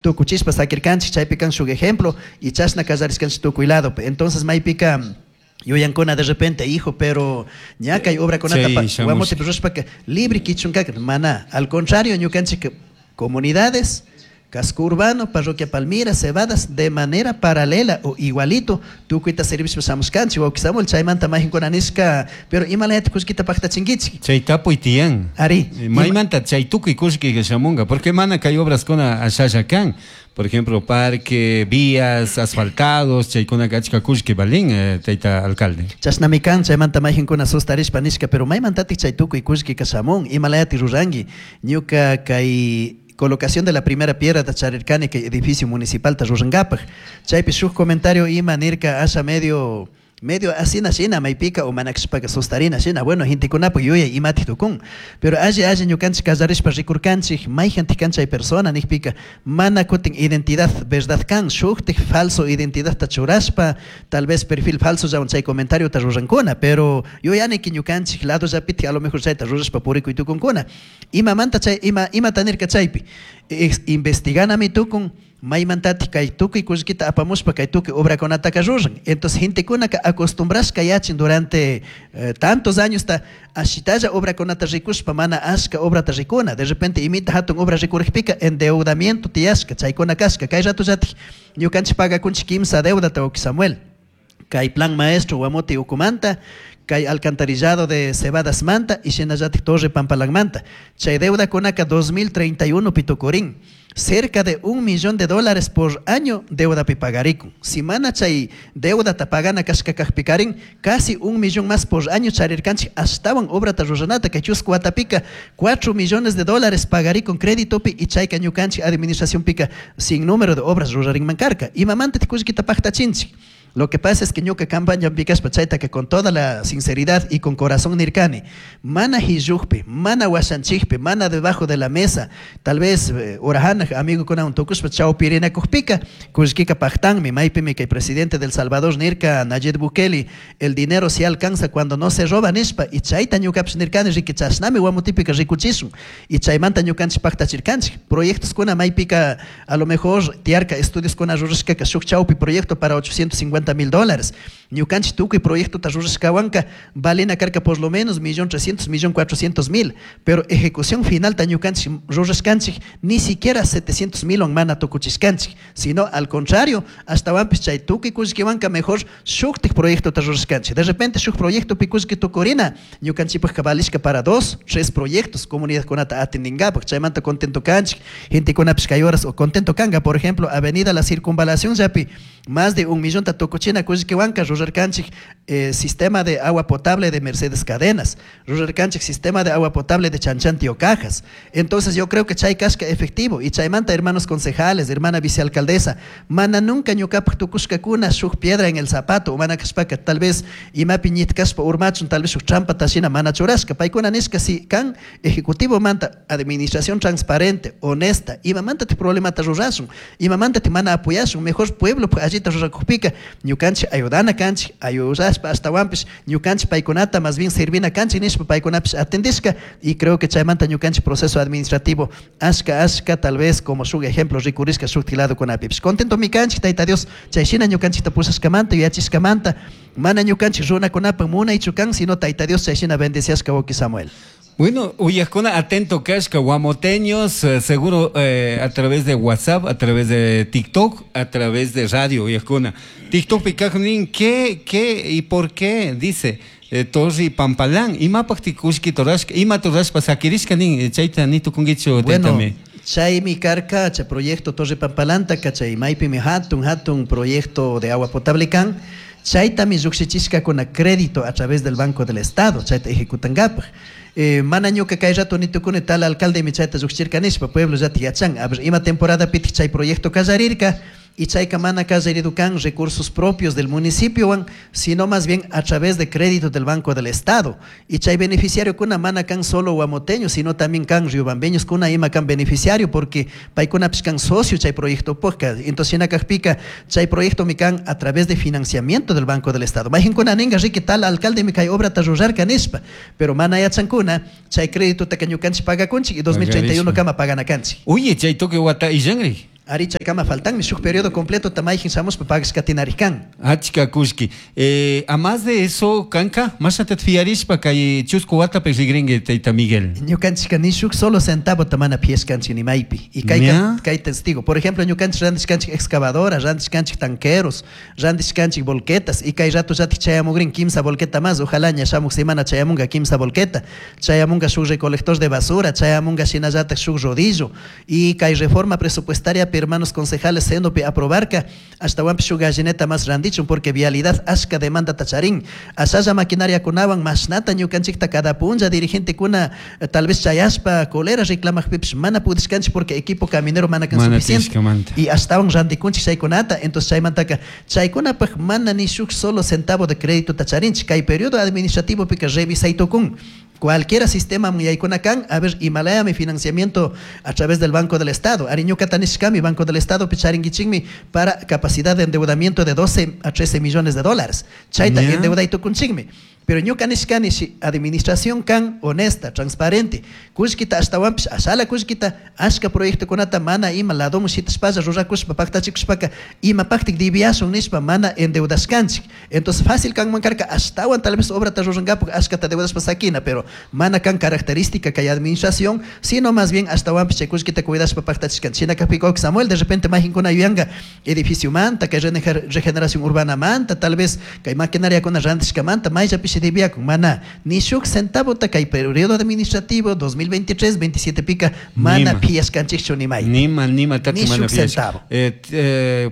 Tucuchishpa saquircanchij, chaipi can shuj ejemplo y chashna callarishcanchij tucui ladopi. Entonces maipica yuyancuna de repente, hijo, pero ña cai obracunata Chay shamushka. Guamotepi rurashpaca libre quichuncaca. Mana, al contrario, ñucanchij comunidades, casco urbano, parroquia Palmira, Cebadas, de manera paralela o igualito, tucuita servishpa shamushcanchij, wauki Samuel, chaimanta majincuna nishca, pero imalayata kullkita pajtachinguichij? Chay tapuy tiyan. Ari. Maymanta chay tukuy kullkika shamunga, porque mana kay obraskuna ashalla kan. Por ejemplo, parque, vías, asfaltados, chaykunaka achka kullki valin, tayta alcalde. Chashnami kan, chaymanta mayjinkuna sustarishpa nishka, pero maymantatik chay tukuy kullkika shamun, imalayati ruranki? Ñuka kay colocación de la primera piedra ta charirkani kay edificio municipal ta rurankapak. Chaypi shuk comentario ima nirka asha medio, medio asina shina maypika o mana kashpaka sustarina shina, bueno, gentekunapak yuyay imatik tukun. Pero alli alli ñukanchik kallarishpa rikurkanchik mayjantik kan chay persona nikpika mana kutin identidad verdad kan, shuktik falso identidadta churashpa, tal vez perfil falso llawan chay comentario ta rurankuna, pero yuyaniki ñukanchik lado llapitik a lo mejor chayta rurashpa purikuy tukunkuna. Imamanta chay, ima, imata nirka chaypi? Investiganami tukun, maymantatik kay tukuy kullkita apamushpa kay tukuy obrakunataka ruran. Entonces gentekunaka acostumbrashka yachin durante tantos años ta ashitalla obrakunata rikushpa mana ashka obrata rikuna. De repente imita hatun obra rikurikpika endeudamiento tiyashka, chaykuna kashka. Kay rato llatik ñukanchik pagakunchik kimsa deudata, wauki Samuel. Kay plan maestro Guamote ukumanta, kay alcantarillado de Cebadas manta y shinallatik Torre Pampalanmanta. Chay deuda kunaka 2031 pitukurin. Cerca de un millón de dólares por año deuda pi pagarikun. Si mana chay deuda ta pagana kashka kajpikarin, casi un millón más por año charirkanchik ashtawan obra ta ruranata kay chusku watapika 4 millones de dólares pagarikun crédito pi y chayka ñukanchik administración pika sin número de obras rurarinman karka. Imamanta tikullkita pajtachinchik. Lo que pasa es que ñuka campaña pikashpa chayta que con toda la sinceridad y con corazón nirkani, mana hillukpi, mana washanchikpi, mana debajo de la mesa, tal vez orajanaj amigo kuna un tukushpa chawpirinakujpika, kullkika pajtanmi, maypimi kay presidente del Salvador nirka Nayib Bukele, el dinero se alcanza cuando no se roba nishpa, y chayta ñukapish nirkani, riki chashnami guamutipika rikuchishun, y chaymanta ñukanchik pajtachirkanchik. Proyectos kuna maypika a lo mejor tiarka estudios kuna rurashkaka shuk chawpi proyecto para 850 mil dólares. Ñukanchik tukuy proyecto ta rurashkawanka valena karka por lo menos millón trescientos, millón cuatrocientos mil, pero ejecución final ta ñukanchik rurashkanchik ni siquiera 700 mil on mana tukuchishkanchik, sino al contrario, hasta wampis chay tukuy kullkiwanka mejor shuktik proyecto ta rurashkanchik. De repente shuk proyecto pi kullki tukurina, ñukanchikpajka valishka para 2, 3 proyectos comunidad kunata atendingapak, chaymanta contento kanchik, gente kunapish kay horas o contento kanga, por ejemplo, Avenida La Circunvalación yapi, más de 1 millón ta tukuchina kullkiwanka rurarkanchik sistema de agua potable de Mercedes Cadenas, rurarkanchik sistema de agua potable de Chanchanti Ocajas. Entonces yo creo que chay kashka efectivo y chaymanta hermanos concejales, hermana vicealcaldesa, mana nunca ñukapak tukushkakuna shuk piedra en el zapato, mana kashpaka tal vez imapi ñitkashpa urmachun, tal vez shuk trampa tashina mana churashka, paykuna nishka si kan ejecutivo manta administración transparente, honesta, imamanta te problemata rurashun, imamanta te mana apoyashun, mejor pueblo pues, allita rurakujpika, ñukanchik ayudana kanchik, ayudashpa ashtawanpish ñukanchik paykunata más bien servina kanchik nishpa paykunapish atendishka, y creo que chaymanta ñukanchik proceso administrativo ashka ashka tal vez como shuk ejemplo rikurishka shuk lado kunapipish. Contento mi kanchik, Tayta Dios, chayshina ñukanchikta pushashkamanta, yuyachishkamanta, mana ñukanchik runakunapak munaychu kan, sino Tayta Dios chayshina bendeciashka wawki Samuel. Bueno, uyajkuna atento kashka, guamoteños, seguro a través de WhatsApp, a través de TikTok, a través de radio, uyajkuna. TikTok pikajnin, ¿qué, qué y por qué? Dice Torri Pampalán, imapaq tikushki torashka, ima torashpa sakirishka nin chayta ni tukunkichu, Bueno, taytami. chaymi karka, chay proyecto Torre Pampalanta, chay maypimi hatun, hatun proyecto de agua potable kan, chaytami llukshichishka kuna crédito a través del Banco del Estado, chayta ejecutankapaq. Mana ñuka kay rato ni tukuni tal alcalde mi chayta llukshichirka nishpa, pueblo ya te yachan. A ver, ima temporada pitik chay proyecto kallarirka, y chayka mana kallaridu kan recursos propios del municipio, wan, sino más bien a través de crédito del Banco del Estado. Y chay beneficiario kuna mana kan solo guamoteño, sino también kan riobambeños kuna ima kan beneficiario, porque paykuna pis kan socio chay proyecto posca. Entonces, en Acajpica, chay proyecto mi kan a través de financiamiento del Banco del Estado. Majen kuna ninga rique tal alcalde mi kay obra ta rurarka nishpa, pero mana yachankuna, chay crédito ta kañukanchi paga kunchi y 2031 kama pagana kanchi. Oye, chay toque guata y yangri. Ari chaykama faltanmi shuk periodo completo mayjin shamushpa pagashka tinarikan. Achka kullki. A más de eso, kanka, mashnata fiarishpa kay chusku watapi rigrinki tayta Miguel. Ñukanchika ni shuk solo centavo mana piashkanchik ni maypi. Y kay, kay testigo. Por ejemplo, ñukanchik randishkanchik excavadora, randishkanchik tanqueros, randishkanchik volquetas. Y kay rato llatik chayamugrin kimsa volqueta más. Ojalá ña shamuk semana chayamunga kimsa volqueta. Chayamunga shuk recolector de basura, chayamunga shinallatak shuk rodillo. Y kay reforma presupuestaria hermanos concejales senopi aprobarka ashtawanpish shuk gallineta más randichun porque vialidad ashka demanda tacharin. Ashalla maquinaria kunawan mashnata ñukanchikta cada punlla dirigente kuna tal vez chayashpa colera reclamajpipish mana pudishkanchik porque equipo caminero mana kan suficiente. Y ashtawan randikunchik chaykunata. Entonces chaymantaka chaykunapaj mana ni shuk solo centavo de crédito tacharinchik. Kay periodo administrativo pika revisay tukun. Cualquiera sistema yaykuna kan, a ver, Himalaya mi financiamiento a través del Banco del Estado. Ari ñukata nishkami, Banco del Estado picharinguichinmi para capacidad de endeudamiento de 12 a 13 millones de dólares. Chayta endeuday tukunchikmi. Pero ñuka nishkani si administración kan honesta, transparente, kullkita ashtawanpish ashala kullkita ashka proyectokunata mana ima ladomun shitashpalla rurakushpa paktachikushpaka imapaktik diviashun nishpa mana endeudashkanchik. Entonces fácil kanman karka ashtawan tal vez obrata rurankapak ashkata deudashpa sakina, pero mana kan característica kay administración, sino más bien ashtawanpish chay kullkita cuidashpa paktachishkanchik. Shina kakpika Samuel de repente majinkuna yuyanka edificio manta, kay regeneración urbana manta, tal vez kay maquinaria kuna randishkamanta, mayllapish diviakun, mana ni shuk centavo ta kay periodo administrativo 2023 27 pika mana piashkanchikchu ni may. Nima tati ni mana shuk centavo.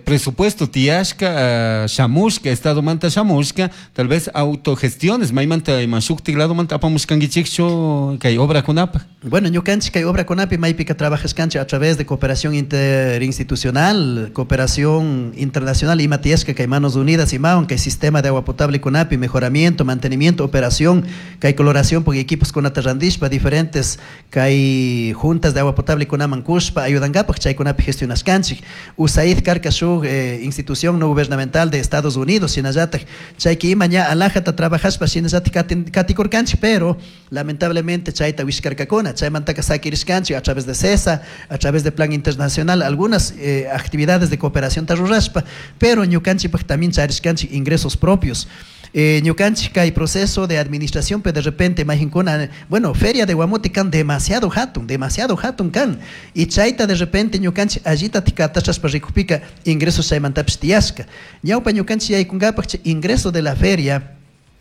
Presupuesto tiashka, shamushka, estado manta shamushka, tal vez autogestiones, maymanta ima shuktik lado manta apamushkankichikchu kay obra kunapa. Bueno, ñukanchik kay obra kunapi maypika trabajashkanchik a través de cooperación interinstitucional, cooperación internacional ima tiyashka kay Manos Unidas imawan kay sistema de agua potable kunapi, mejoramiento, mantenimiento, operación, kay coloración porque equipos kunata randishpa, diferentes kay juntas de agua potable kunaman kushpa ayudankapaj chaykunapi gestionashkanchik. USAID karka shuk institución no gubernamental de Estados Unidos shinallatak chayki ima ña alajata trabajashpa shinallatak katikurkanchik, pero lamentablemente chayta wishkarkakuna, chaymantaka sakirishkanchik a través de CESA, a través de Plan Internacional, algunas actividades de cooperación tarurashpa, pero ñukanchikpaj también charishkanchik ingresos propios. Ñukanchik kay proceso de administración, pero de repente majinkuna, bueno, feria de Guamote kan demasiado hatun kan. Y chayta de repente ñukanchik allita tikatashaspa rikupika ingresos chaymantapish tiyashka. Ñawpa ñukanchik yaykunkapaj ingreso de la feria,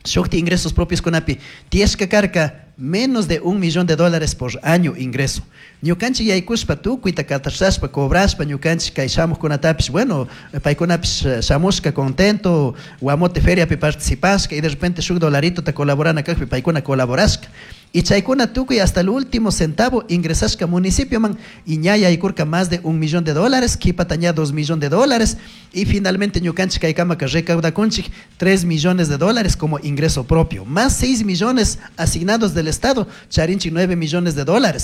shukti ingresos propios kunapi tiyashka karka menos de $1 millón por año ingreso. Ñukanchik yaykushpa tukuyta katashashpa cobrashpa ñukanchik kay shamuqkunatapish, bueno, paykunapish shamushka contento, Guamote feriapi participashka y de repente shuk dolarito ta colaborana kajpi paykuna colaborashka. Y chaykuna tukuy hasta el último centavo ingresashka municipio man y ña yaykurka más de $1 millón, kipata ña $2 millones y finalmente ñukanchik kaykamaka recaudakunchik $3 millones como ingreso propio, más 6 millones asignados del Estado, charinchik $9 millones.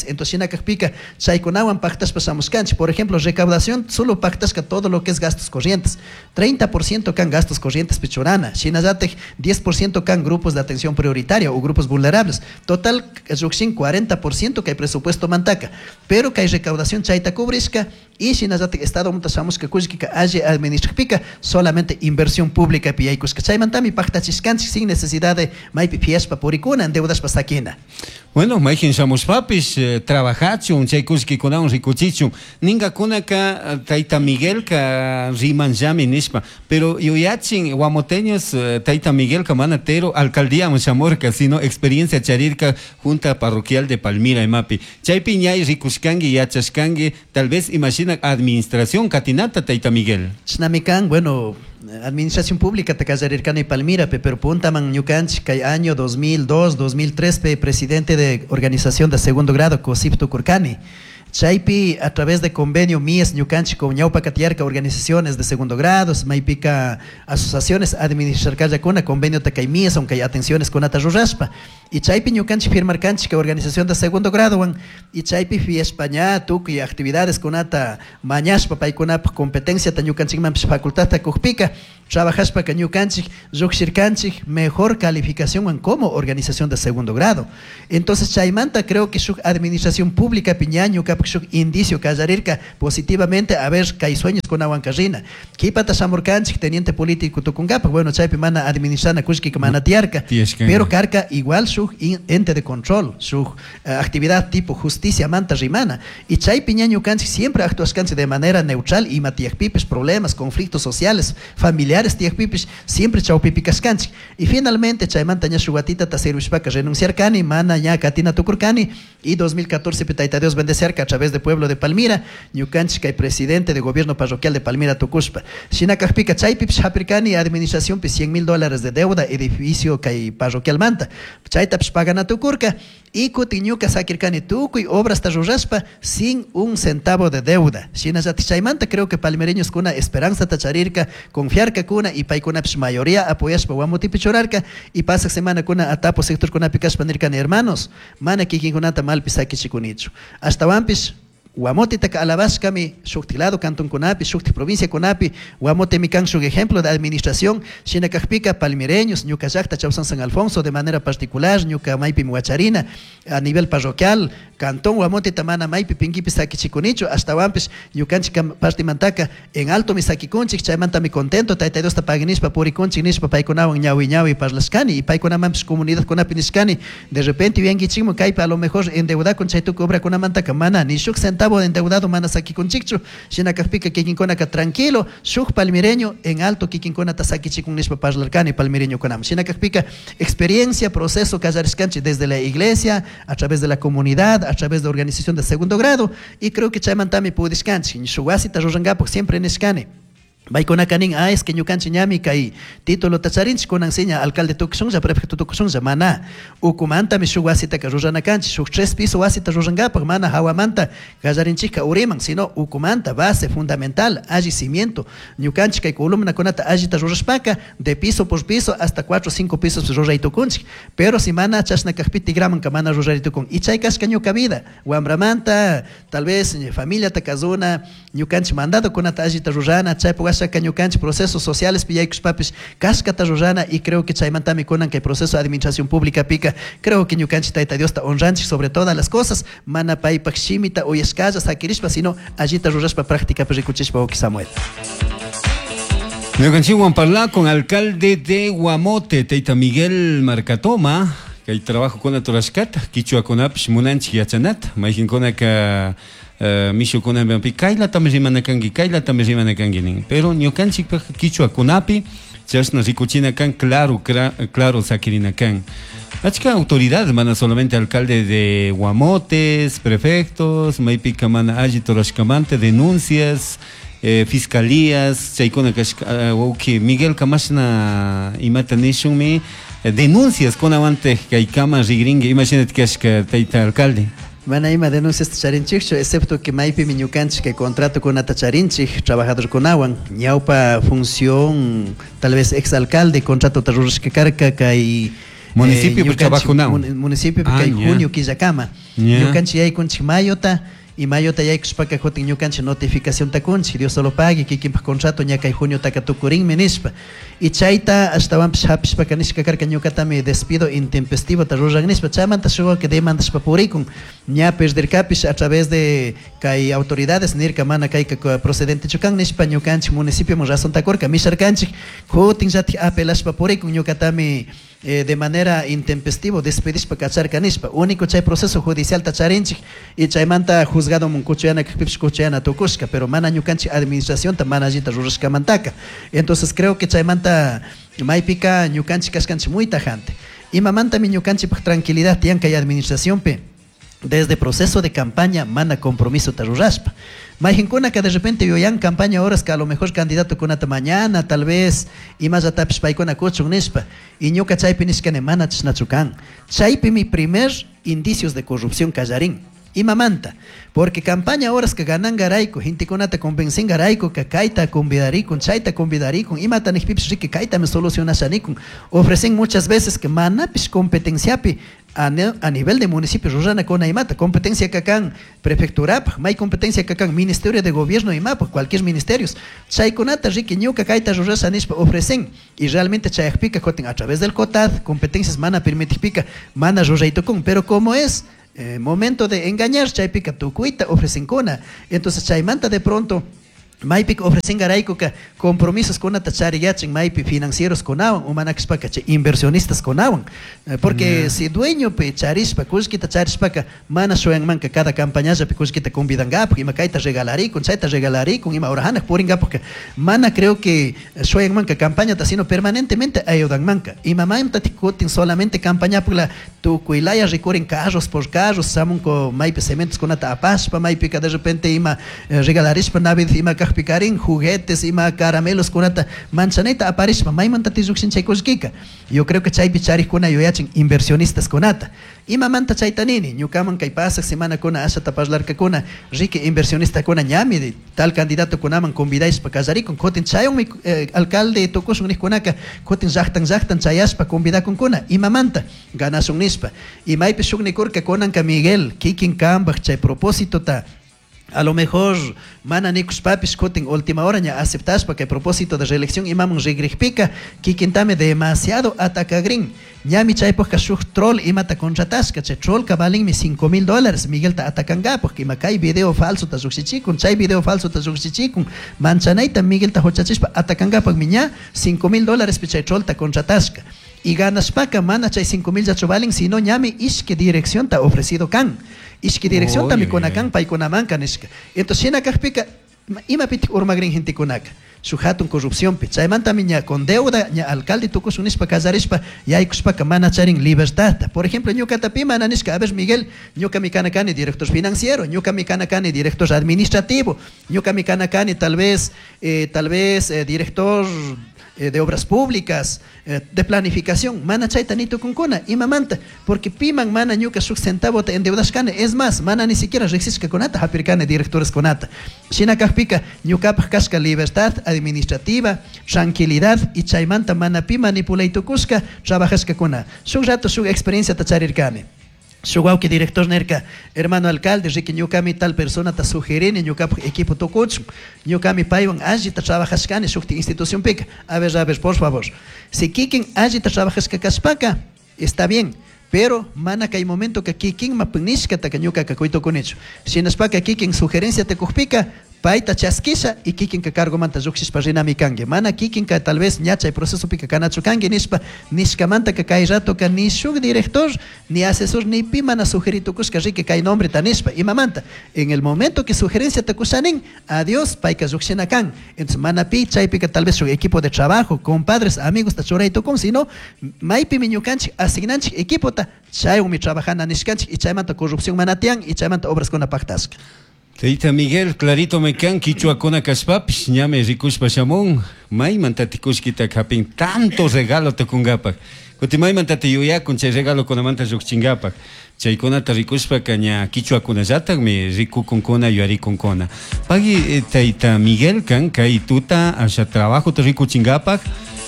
Entonces shina kajpika chaykunawan pactashpa shamushkanchik. Por ejemplo, recaudación solo pactashka todo lo que es gastos corrientes, 30% kan gastos corrientes pichurana, shinallatik 10% kan grupos de atención prioritaria o grupos vulnerables. Total llukshin 40% que hay presupuesto mantaka, pero que hay recaudación chayta cubrishka y shinallatik Estado manta shamushka kullkika alli administrajpika solamente inversión pública piyaykushka. Chaymantami paktachishkanchik sin necesidad de maypi piashpa purikuna endeudashpa sakina. Bueno, mayjin shamushpapish trabajachun chay kullkikunawan rikuchichun ninkakunaka tayta Miguelka rimanllami nishpa, pero yuyachin guamoteños tayta Miguelka mana tero alcaldíaman shamurka sino experiencia charirka Junta Parroquial de Palmira imapi. Chaypi ñay rikushkanki yachashkanki tal vez imagina administración katinata tayta Miguel. Chinamikan, bueno, administración pública takallarirkani Palmira, pero puntaman ñukanchik kay año 2002, 2003 pe presidente de organización de segundo grado COSIP tukurkani. Chaypi a través de convenio MIES ñukanchik con ñawpa katiyarka organizaciones de segundo grado, maypika asociaciones administrarkallakuna convenio takay MIES, aunque hay atenciones kunata rurashpa. Y chaypi ñukanchik firmarkanchik organización de segundo grado wan, y chaypi fiespa ña tukuy actividades kunata mañashpa paykunapaj competencia ta ñukanchikmanpish facultadta kujpika trabajashpaka ñukanchik lluqshirkanchik mejor calificación wan como organización de segundo grado. Entonces chaymanta creo que shuk administración pública piña ñuka ñukapuk shuk indicio kallarirka positivamente, a ver, kay sueñoskunawanka rina. Qhipata shamurkanchik teniente político tukunkapak, bueno, chaypi mana administrana kullkika mana tiyarka, pero karka igual shuk ente de control, shuk actividad tipo justicia manta rimana, y chaypi ña ñukanchik siempre actuashkanchik de manera neutral, ima tiyakpipish problemas, conflictos sociales, familiares tiyakpipish, siempre chawpipi kashkanchik. Y finalmente chaymanta ña shuk watitata servishpaka renunciarkani, mana ña katina tukurkani, y 2014 pi Tayta Dios bendeciarka a través de pueblo de Palmira, ñukanchik kay presidente de gobierno parroquial de Palmira tukushpa. Shina kajpika chaypipish hapirkani administracionpi $100,000 de deuda edificio kay parroquialmanta, chaytapish pagana tukurka, y kutin ñuka sakirkani tukuy obrasta rurashpa sin un centavo de deuda. Shinallatik chaymanta creo que palmireñoskuna esperanzata charirka, confiarkakuna, y paykunapish mayoría apoyashpa Guamotepi churarka, y pasak semanakuna Atapo sectorkunapi kashpa nirkani, hermanos, mana kikinkunata malpi sakichikunichu. Ashtawanpish Guamotitaka alabashkami shuktik lado kantonkunapi, shuktik provinciakunapi, Guamotemi kan shuk ejemplo de administración, shina kajpika palmireños, ñuka llakta Chausán San Alfonso de manera particular, ñuka maypimi wacharina a nivel parroquial, cantón Guamotita mana maypi pinkipi sakichikunichu, ashtawanpish ñukanchik partimantaka en alto mi sakikunchik, chaymantami contento, Tayta Diosta paginishpa purikunchik nishpa paykunawan ñawi ñawi parlashkani, y paykunamanpish comunidadkunapi nishkani, de repente yuyankichikmi kaypi a lo mejor endeudakun chay tukuy obrakunamantaka mana ni shuk centavo endeudado mana sakikunchikchu, shina kajpika kikinkunaka tranquilo, shuk palmireño en alto kikinkunata sakichikun nishpa parlarkani palmireñokunaman. Shina kajpika experiencia, proceso kallarishkanchik desde la iglesia, a través de la comunidad, a través de organización de segundo grado, y creo que chaymantami pudishkanchik, shuk wasita rurankapak siempre nishkani. Paykunaka nin, ah, es que ñukanchik ñami kay título tacharinchik kunan siña alcalde tukushunlla, prefecto tukushunlla, mana ukumantami shuk wasitaka rurana kanchik, shuk 3 piso wasita rurankapak, mana hawamanta kallarinchikka uriman, sino ukumanta base fundamental, alli cimiento, ñukanchik kay columnakunata allita rurashpaka, de piso por piso hasta 4 o 5 pisos ruray tukunchik, pero si mana chashna kajpi tigramanka mana ruray tukun, y chay kashka ñuka vida, wambramanta, tal vez familiata kazuna, ñukanchik mandadokunata allita rurana, chaypuk washa ñukanchik procesos sociales piyaykushpapish kashkata rurana, y creo que chaymantami kunan kay proceso de administración pública pika, creo que ñukanchik Tayta Diosta honranchik sobre todas las cosas, mana paypak shimita uyashkalla sakirishpa, sino allita rurashpa prácticapi rikuchishpa, wawki Samuel. Ñukanchikwan parla con alcalde de Guamote, Tayta Miguel Marcatoma, kay trabajo kuna turashkata, kichwakunapish munanchik yachanata, mayqinkunaka mishukunapi kaylatami rimana kanki, kaylatami rimana kanki nin, pero ñukanchikpak kichwakunapi chashna rikuchina kan, claro, claro sakirina kan. Achka autoridad, mana solamente alcalde de Guamotes, prefectos, maypika mana alli turashkamanta, denuncias, fiscalías, chaykuna kashka, wawki Miguel kamashna imata nishunmi, denuncias kunawante kaykama rigrinki, imashinati kashka tayta alcalde. Mana ima denuncias charinchikchu, excepto que maypimi ñukanchik kay contrato kunata charinchik trabajadorkunawan, ñawpa función tal vez exalcalde contrato ta rurashka karka kay Municipio ñukanchik trabajunawan. Municipio Ah, kay ña. junio killakama. Ña. Ñukanchik yaykunchik mayota, y mayota yaykushpaka kutin ñukanchik notificación takunchik, Dios solo pague, kikinpak contrato ña kay junio taka tukurinmi nishpa. Y chayta ashtawanpish hapishpaka nishka karka ñukatami despido intempestivo ta ruran nishpa, chaymanta shuk que demandashpa purikun, ña perderkapish a través de kay autoridades nirka mana kayka procedente chukan nishpa ñukanchik municipio razón takurka misharkanchik, kutin llatik apelashpa purikun ñukatami de manera intempestivo despedishpa kacharka nishpa, único chay proceso judicial ta charinchik y chaymanta juzgado mun kuchuyana kajpipish kuchuyana tukushka, pero mana ñukanchik administración ta mana allita rurashkamantaka. Entonces creo que chaymanta maypika ñukanchik kashkanchik muy tajante. Imamantami ñukanchikpak tranquilidad tiyan kay administracionpi, desde proceso de campaña mana compromiso ta rurashpa. Mayqinkunaka de repente yuyan campaña horas que a lo mejor candidato kunata mañana tal vez imallatapis paykuna kuchun nishpa, y ñuka chaypi nishkani mana chashnachu kan. Chaypi mi primer indicios de corrupción kallarin. Imamanta, porque campaña horas que ganan garayku, gentekunata convencen garayku, que kayta convidarikun, chayta convidarikun, imata nijpipis rique kayta me solucionashanikun. Ofrecen muchas veces que manapis competenciapi a nivel de municipio rurana con imata, competencia que kan prefecturapaj, may competencia que kan ministerio de gobierno imapaj, cualquier ministerio. Chaykunata rique ñuka kayta rurasha nishpa ofrecen, y realmente chayajpika jotin a través del COTAD, competencias mana permitijpika, mana ruraytukun, pero como es Momento de engañar chaypika tukuyta ofrecenkuna. Entonces chaymanta de pronto maypika ofrecengaraykuka compromisos kunata chariyachin maypi financieros kunawan o mana kashpaka chay inversionistas kunawan. Porque si dueñopi charishpa kullkita charishpaka mana shuyanmanka cada campañallapi kullkita convidangapak ima kayta regalarikun chayta regalarikun ima hora hanaq puringapak, mana creo que shuyanmanka campañata, sino permanentemente ayudanmanka. Imamanta kutin solamente campañapukla tukuylaya rikurin carros por carros shamunku maypi cementos kunata apashpa, maypika de repente ima regalarishpa Navidad ima kajpikarin juguetes ima caramelos kunata manchanayta aparishpa, maymanta llukshin chay kullkika. Yo creo que chaypi charikuna yuyachin inversionistas kunata. Imamanta chayta nini, ñukaman kay pasaq semanakuna ashata parlarkakuna, riqui inversionistakuna ñami tal candidato kunaman convidashpa kallarikun, kutin chaywanmi alcalde tukushun nijkunaka kutin llaqtan llaqtan chayashpa convidakunkuna, imamanta ganashun nishpa. Y maypi shuk nikurka kunanka Miguel kikin kanpaj chay propósitota a lo mejor mana nikushpapish kutin última hora ña aceptashpa kay propósito de reelección imaman rigrikpika kikintami demasiado atacagrin. Ñami chaypajka shuk troll imata contratashka, chay trollka valinmi $5,000 Miguelta atacankapaj, ima kay video falsota llukshichikun, chay video falsota llukshichikun, manchanayta Miguelta huchachishpa atacankapajmi ña $5,000 pi chay trollta contratashka. Y ganashpaka mana chay 5,000 llachu valin, sino ñami ishki direccionta ofrecido kan. Ishki direccionta mikuna kan, paykunamanka nishka. Entonces shina kajpika, imapitik urmagrin gentekunaka? Shuk hatun corrupcionpi. Chaymantami ña con deuda, ña alcalde tukushun nishpa kallarishpa, yaykushpaka mana charin libertadta. Por ejemplo, ñukata pi mana nishka, a ver Miguel, ñukami kana kani director financiero, ñukami kana kani director administrativo, ñukami kana kani tal vez director de obras públicas, de planificación, mana chayta ni tukunkuna, imamanta, porque piman mana ñuka shuk centavota endeudashkani, es más, mana ni siquiera riksishkakunata hapirkani directores kunata. Shina kajpika ñukapaj kashka libertad administrativa, tranquilidad, y chaymanta mana pi manipulay tukushka trabajashkakuna. Shuk rato shuk experienciata charirkani. Shuk wawki director nerka, hermano alcalde, riqui ñukami tal persona ta sugerini ñukapaj equipo tukuchun, ñukami paywan allita trabajashkani shukti institución pika. A ver, a ver, por favor. Si kikin allita trabajashka kashpaka, está bien, pero mana kay momento que kikin mapunishkata ka ñukaka kuytukunichu. Shinashpaka kikin sugerencia te kujpika, payta chaskisha y kikin ka cargomanta llukshishpa rinami kanki. Mana kikin ka tal vez ña chay proceso pika kanachu kanki nishpa, nishkamanta ka kay rato ka ni shuk director, ni asesor, ni pi mana sugeritukushka riqui kay nombre ta nishpa. Imamanta, en el momento que sugerencia te kushanin, adiós, payka llukshina kan. Entonces mana pi chaypika tal vez shuk equipo de trabajo, compadres, amigos ta churaytukun, sino maypimi ñukanchik asignanchik equipo ta chaywanmi trabajana nishkanchik y chaymanta corrupción mana tiyan y chaymanta obras kuna pactashka. Tayta Miguel, clarito me kan quichuakuna kashpapish, ñami rikushpa shamun, maymanta tikushkita hapin tanto regalo tukungapak. Kuti maymanta tiyuyakun chay regalo kunamanta llukchingapak. Chaykunata rikushpaka ña quichuakunallatakmi rikukunkuna yuyarikunkuna. Pagui tayta Miguel kan kay tuta asha trabajo te rikuchingapak.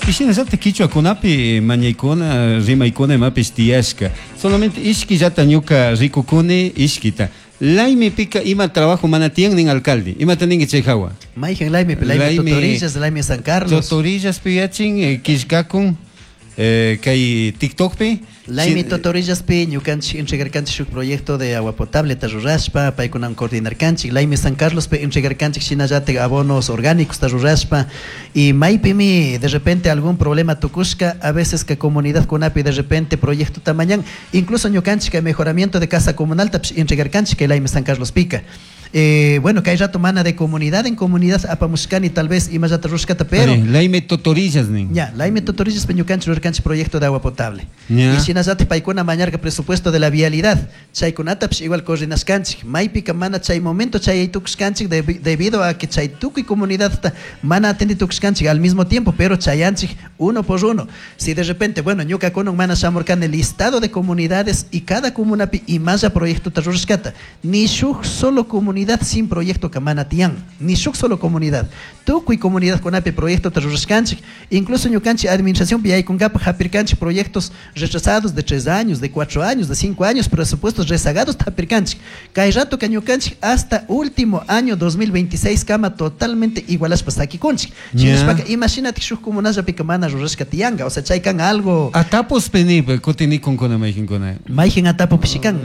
Y shinallatak quichuakunapi mañaykuna rimaykuna imapish tiyashka. Solamente ishkillata ñuka rikukuni ishkita. Laimi pica ima trabajo mana tiyan nin alcalde. Ima tanin chay hawa. Mayhan Laimi, Laimi Totorillas, Laimi San Carlos. Totorillas piyachin, kishkakun, kay TikTok pi. Laimi Totorillas pi, ñukanchik entregarkanchik shuk proyecto de agua potable tarurashpa, paykunan coordinarkanchik. Laimi San Carlos pi entregarkanchik shinallatik abonos orgánicos tarurashpa. Y maypimi de repente algún problema tukushka, a veces que comunidad kunapi de repente proyecto tamañan, incluso ñukanchik mejoramiento de casa comunal tapsh entregarkanchik que Laimi San Carlos pica. Bueno, que hay rato mana de comunidad en comunidad apamushkani tal vez y más rushkata, pero Laime Totorillas nin. Ya, Laime Totorillas peñukanchik rurkanchik proyecto de agua potable. Ya. Y shinallati paykuna mañarka presupuesto de la vialidad. Chaykunata psh igual coordinashkanchik. Maypika mana chay momento chay tukushkanchik debido a que chay tukuy comunidad ta mana atendi tukushkanchik al mismo tiempo, pero chayanchik uno por uno. Si de repente, bueno, ñuka kunun mana shamurkani listado de comunidades y cada comuna pi y más ya proyecto ta rushkata. Ni shuk solo comunidad Comunidad sin proyecto ka mana tiyan, ni shuk solo comunidad. Tukuy comunidadkunapi proyectota rurashkanchik, incluso ñukanchik administracionpi yaykunkapaj hapirkanchik proyectos retrasados de 3 años, de 4 años, de 5 años, presupuestos rezagados hapirkanchik. Kay ratoka ñukanchik hasta último año 2026 kama totalmente igualashpa sakikunchik. Shinashpaka imashinatik shuk comunallapika mana rurashka tiyanka, o sea, chay kan algo. Atapos ni kutinikunkuna mayqinkuna. Mayqin atapopishi kan.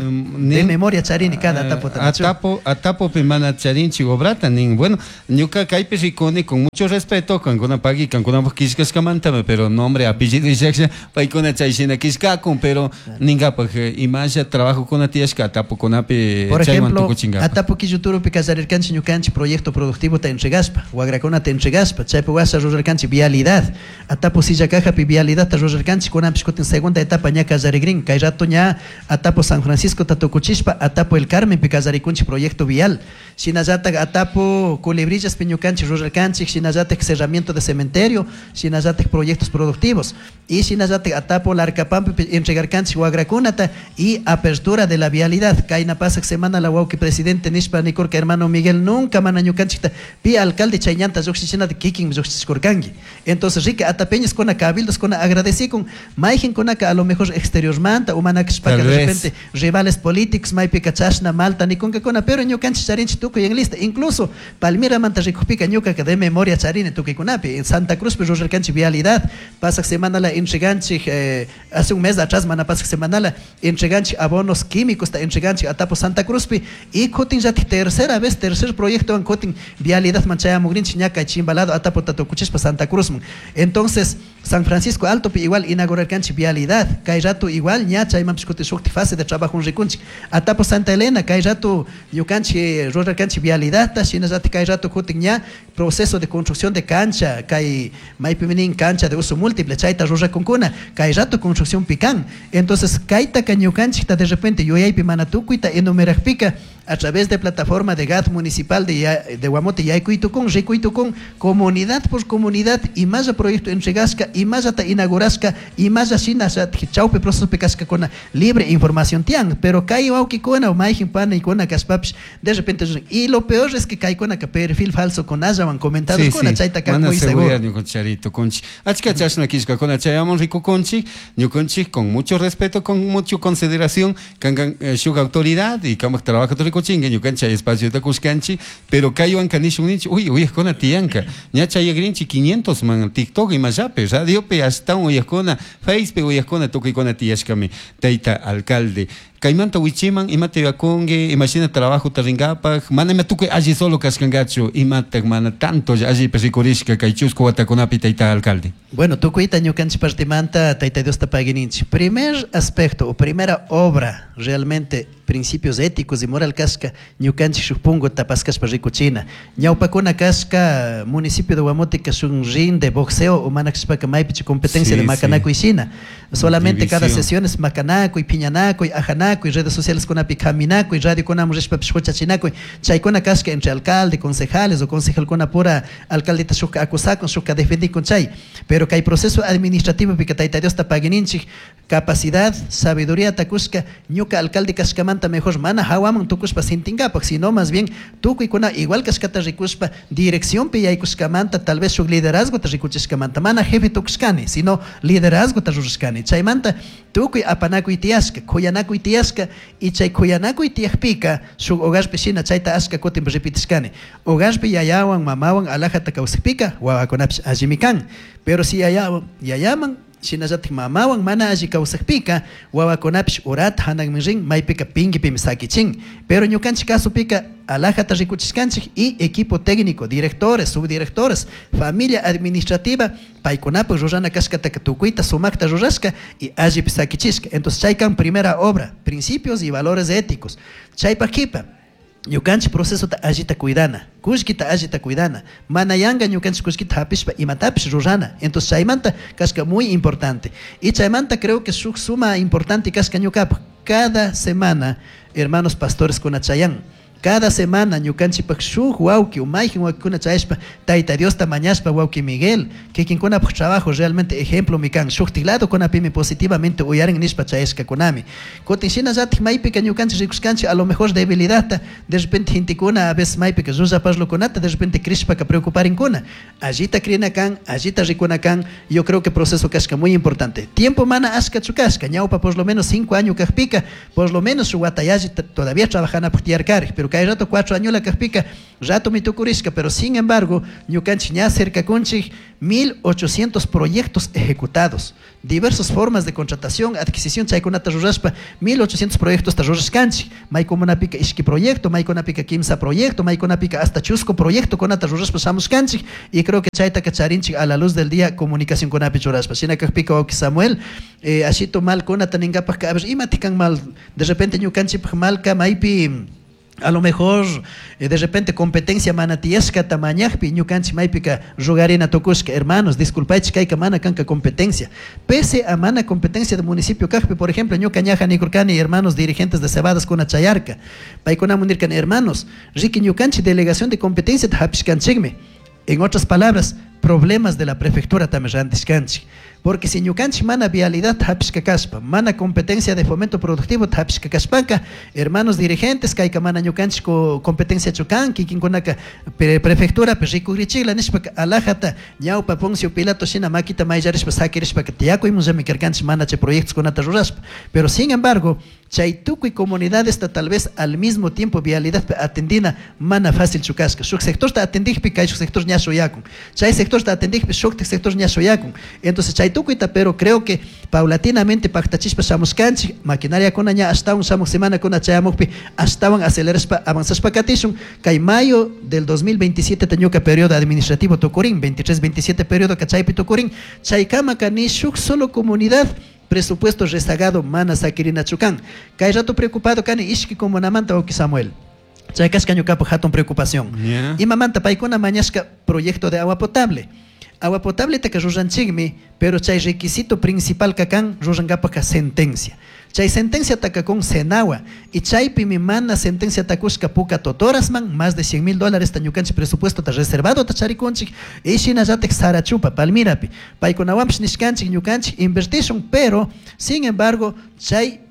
De memoria charini cada atapota. Atapo, atapopi mana charinchik obrata nin. Bueno, ñuka kaypi rikuni con mucho respeto kankuna pagui kankunapaj killkashkamanta, pero nombre, apellido illaklla paykuna chay shina killkakun, pero ninkapaj imalla trabajokuna tiyashka atapokunapi. Por ejemplo, Atapo Quilluturupi kallarirkanchik ñukanchik proyecto productivo ta entregaspa, wagrakunata entregaspa, chaypi washa rurarkanchik vialidad. Atapo Sillacajapi vialidad ta rurarkanchik, kunanpish kutin segunda etapa ña kallarigrin. Kay rato ña Atapo San Francisco ta tukuchishpa, Atapo El Carmenpi kallarikunchik proyecto vial. Shinallatak Atapo Culebrillaspi ñukanchik rurarkanchik, shinallatak cerramiento de cementerio, shinallatak proyectos productivos. Y shinallatak Atapo Larcapampi entregarkanchik wagrakunata y apertura de la vialidad. Kayna pasak semana la wawki presidente nishpa nikurka, hermano Miguel, nunca mana ñukanchikta pi alcalde chay ñanta lluqshichinata kikin lluqshichkurkanki. Entonces rica atapeñas kuna cabildos kuna agradecikun mayqinkunaka a lo mejor exteriormanta o mana kashpaka de repente rivales políticos maypika chashna malta nikunkakuna, pero ñukanchik charinchik tukuy en lista. Incluso Palmiramanta rikukpika ñukaka de memoria charini tukuykunapi. En Santa Cruzpi rurarkanchik vialidad, pasak semana la entreganchik, hace un mes atrás mana pasak semana la entreganchik abonos químicos ta entreganchik Atapo Santa Cruzpi y kutin llatik tercera vez, tercer proyecto en kutin vialidad manchayamugrinchik ña kay chimbalado Atapo tatukuchishpa Santa Cruzman. Entonces San Francisco Altopi igual inaugurarkanchik vialidad, kay rato igual ña chaymanpish kutin shuktik fase de trabajo rikunchik. Atapo Santa Elena kay rato ñukanchik rurarkanchik vialidadta, shinallatik kay rato kutin ña proceso de construcción de cancha, kay maypimi nin cancha de uso múltiple chayta rurakunkuna, kay rato construcción pican. Entonces kaytaka ñukanchikta de repente yuyaypi mana tukuyta enumerajpika a través de plataforma de GAD municipal de Guamote yaykuy tukun, rikuy tukun, comunidad por comunidad imalla proyecto entregaska, imallata inaugurashka, imalla shina chawpi proceso kashkakuna libre información tiyan, pero kay wawkikuna o mayjin panikuna kashpapish de repente, y lo peor es que kaykunaka perfil falso kunallawan comentarios kuna, chayta kan Mana muy seguro. Seguridad ñukanchik kunchik. Achka chashna killkakuna chayamun rikukunchik, ñukanchik con mucho respeto, con mucha consideración, kankan shuk autoridad y kamak trabajo rikuchinka ñukanchik espacio kushkanchik, pero kaywan nishun ninchik, uy, uyajkuna tiyanka, ña chayagrinchik 500 man TikTok imallapi, radiopi ashtawan uyajkuna, Facebook uyajkuna tukuykuna tiyashkami, tayta alcalde. Kaymanta wichiman imata yuyakunki, imashina trabajota rinkapaj, mana ima tukuy alli solo kashkankachu, imatak mana tanto allipi rikurishka kay chusku watakunapi, tayta alcalde. Bueno, tukuyta ñukanchik partimanta Tayta Diosta paguininchik. Primer aspecto o primera obra realmente principios éticos y moral kashka ñukanchik shuk punguta paskashpa rikuchina. Ñawpakuna kashka municipio de Guamote shuk ring de boxeo o mana kashpaka maypichu competencia de makanakuy shina. Solamente cada División. sesión es makanakuy, piñanakuy, ajanakuy, redes sociales kunapi kaminakuy, radio kunamun rishpapish huchachinakuy. Chaykuna kashka entre alcalde, concejales o concejalkuna pura alcaldeta shukka acusakun, shukka defendikun chay. Pero kay proceso administrativo pika Tayta Diosta paguininchik capacidad, sabiduría takushka ñuka alcalde kashkamanta mejor mana hawaman tukushpa sintinkapak, sino más bien tukuykuna igual kashkata rikushpa direcciónpi yaykushkamanta tal vez shuk liderazgota rikuchishkamanta mana jefe tukushkani, sino liderazgota rurashkani. Chaymanta tukuy apanakuy tiyashka, kuyanakuy tiyashka y chay kuyanakuy tiyakpika shuk hogarpi shina chayta ashka kutin repetishkani. Hogarpi yayawan mamawan alajata kawsakpika wawakunapish allimi kan. Pero si yayaman shinallatik mamawan mana alli kawsakpika wawakunapish urata hanakmin rin maypika pinkipimi sakichin. Pero ñukanchik kasupika alajata rikuchishkanchik y equipo técnico, directores, subdirectores, familia administrativa, paykunapak rurana kashkataka tukuyta sumakta rurashka y allipi sakichishka. Entonces chaykan primera obra, principios y valores éticos. Chaypak kipa ñukanchik procesota allita cuidana, kullkita allita cuidana, mana yanka ñukanchik kullkita hapishpa imatapish rurana. Entonces chaymanta kashka muy importante. Y chaymanta creo que shuk suma importante kashka ñukapak. Cada semana, hermanos pastores kunachayan. Cada semana ñukanchikpak shuk wawki o mayjin wawkikuna chayashpa Tayta Diosta mañashpa wawki Miguel, kikinkunapak trabajo realmente ejemplomi kan, shuktik ladokunapimi positivamente uyarin nishpa chayashkakunami. Kutin shinallatik maypika ñukanchik rikushkanchik a lo mejor debilidadta de repente gentekuna a veces maypika llulla parlokunata de repente crishpaka preocuparinkuna. Allita crina kan, allita rikuna kan, yo creo que proceso kashka muy importante. Tiempo mana ashkachu kashka, ñawpa por lo menos 5 años kajpika, por lo menos shuk wata yalli todavía trabajanapuk tiyarkarik, pero kay rato 4 añola kajpika, rato mi tukurishka, pero sin embargo, ñukanchik ña cercakunchik 1800 proyectos ejecutados, diversas formas de contratación, adquisición, chaykunata rurashpa, 1800 proyectos ta rurashkanchik, maykunapika ishki proyecto, maykunapika kimsa proyecto, maykunapika hasta chusco proyecto kunata rurashpa shamushkanchik, y creo que chaytaka charinchik a la luz del día comunicación kunapi churashpa. Shina kajpika wawki Samuel, ashito mal kunata ningapak, a ver, imatikan mal, de repente ñukanchikpak malka maypi a lo mejor de repente competencia mana tiyashkata mañajpi ñukanchik maypika rugarina tukushka, hermanos, disculpaychik kayka mana kanka competencia. Pese a mana competencia del municipio kajpi, por ejemplo, ñuka ñaja nikurkani, hermanos dirigentes de Cebadas kuna chayarka, paykunamun nirkani, hermanos, riki ñukanchik delegación de competencia ta hapishkanchikmi. En otras palabras, problemas de la prefectura también rantishkanchik. Porque si ñukanchik mana vialidad hapishka kashpa, mana competencia de fomento productivo hapishka kashpanka, hermanos dirigentes, kayka mana ñukanchik competencia chukan, kikinkunaka prefectura pe rikugrichikla nishpaka alajata ñawpa Poncio Pilato shina makita mayllarishpa sakirishpaka tiyakuymunllami karkanchik mana chay proyectos kunata rurashpa. Pero sin embargo, chay tukuy comunidades ta tal vez al mismo tiempo vialidad pe atendina mana fácil chukashka. Shuk sector ta atendikpi kay shuk sector ña shuyakun. Chay sector ta atendikpi shuktik sector ña shuyakun. Entonces chay tukuyta, pero creo que paulatinamente paktachishpa shamushkanchik, maquinaria kuna ña ashtawan shamuj semana kuna chayamukpi ashtawan acelerashpa avanzashpa katishun. Kay mayo del 2027 ta ñuka periodo administrativo tukurin, 23-27 periodo ka chaypi tukurin, chaykamaka ni shuk solo comunidad presupuesto rezagado mana sakirina chukan. Kay rato preocupado kani ishki comunamanta wawki Samuel. Chay kashka ñukapak hatun preocupación. Imamanta paykuna mañashka proyecto de agua potable. Agua potable taka ruranchikmi, pero chay requisito principal kakan rurankapaka sentencia. Chay sentencia taka con Senagua y chaypimi mana sentencia takushka puka totorasman más de cien mil dólares ta ñukanchik presupuesto ta reservado ta charikunchik y shinallatik Sarachupa Palmirapi paykunawanpish nishkanchik ñukanchik invertishun, pero sin embargo chay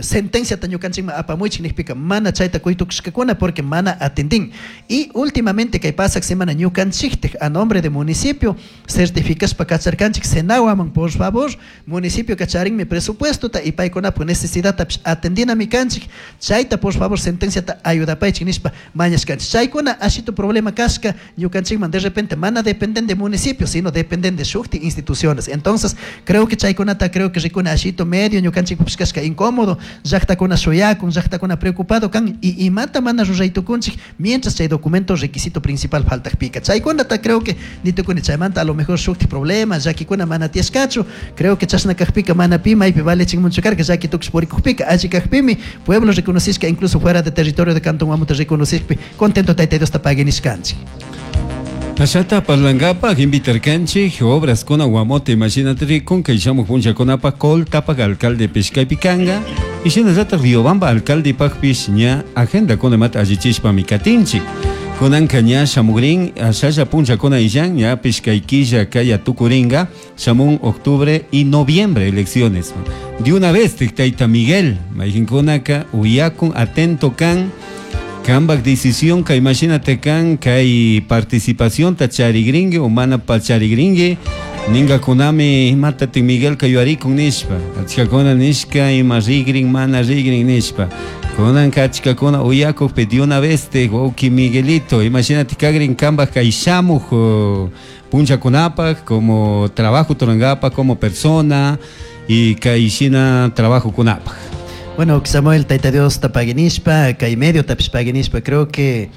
sentencia ta ñukanchikman apamuychik nijpika mana chayta kuytukushkakuna porque mana atendin. Y últimamente kay pasak semana ñukanchiktik a nombre de municipio certificashpa kacharkanchik Senaguaman, por favor, municipio kacharinmi presupuesto ta y paykunapak necesidadtapish atendinami kanchik, chayta por favor sentencia ta ayudapaychik nishpa mañashkanchik. Chaykuna ashito problema kashka ñukanchikman de repente mana dependen de municipio, sino dependen de shukti instituciones. Entonces, creo que chaykunata creo que rikuna ashito medio ñukanchikpapish kashka incómodo, llaqtakuna shuyakun, llaqtakuna preocupado kan y imata mana ruraytukunchik mientras chay documento requisito principal faltakpika. Chaykunata creo que nitukuni chaymanta a lo mejor shukti problema, llakikuna mana tiyashkachu, creo que chashna kajpika mana pi maypi valechinmunchu karka llaki tukush purikukpika, alli kajpimi pueblo reconocishka incluso fuera de territorio de Cantón Guamote reconocishpi contento Tayta Diosta paguinishkanchik. Ashata parlangapaj invitarkanchik obras kuna Guamote imagínate rikun kay shamuj punllakunapaj Coltapak alcalde pishkaypi kanga y shinallata Riobamba alcalde pakpish ña agenda kuna imata allichishpami katinchik. Kunanka ña shamugrin ashalla punllakuna illan ña pishkay killa kaya tukuringa shamun octubre y noviembre elecciones. De una vez tayta Miguel mayqinkunaka uyakun atento kan Kambak decisión ka imagínate kan kay participación ta charigringue o mana pa charigringue ninga kunami imata ti Miguel kayuarikun nishpa achkakuna nishka ima rigrin mana rigrin nishpa kunan ka achkakuna uyakuq pe de una vez te wawki Miguelito imagínate kagrin kambak kay shamuj punchakunapaj como trabajo turangapaj como persona y kay shina trabajo kunapaj. Bueno, Samuel, Tayta Dios tapaguinishpa, kay medio tapish paguinishpa, creo que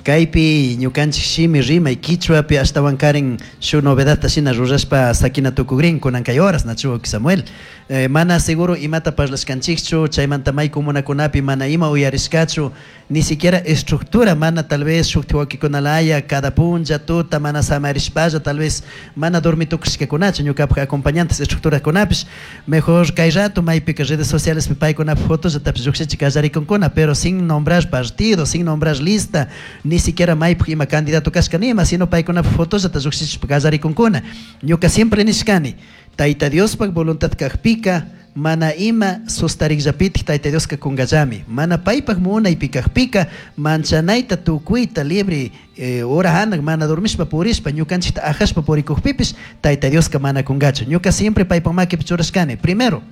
Kaypi ñukanchik shimi rimay quichwapi ashtawankarin shuk novedadta shina rurashpa sakina tukukrin kunan kay horas, nachu wawki Samuel? Mana seguro imata parlashkanchikchu, chaymanta may comunakunapi mana ima uyarishkachu, ni siquiera estructura mana tal vez shukti wawkikunalaya cada punlla tuta mana samarishpalla tal vez mana dormitukushkakunachu ñukapak acompañantes estructurakunapish. Mejor kay rato maypika redes socialespi paykunapak fotollatapish llukshichi kallarikunkuna, pero sin nombrar partido, sin nombrar lista, ni siquiera maypak ima candidato kashka nima, sino paykunapak fotollata llukshichishpa kallarikunkuna. Ñuka siempre nishkani, Tayta Diospak voluntad kakpika mana ima sustarikllapitik Tayta Dioska kunkallami. Mana paypak munaypi kakpika manchanayta tukuyta libre hora hanak mana dormishpa purishpa ñukanchikta ajashpa purikukpipish Tayta Dioska mana kunkachu. Ñuka siempre paypak makipi churashkani. Primero,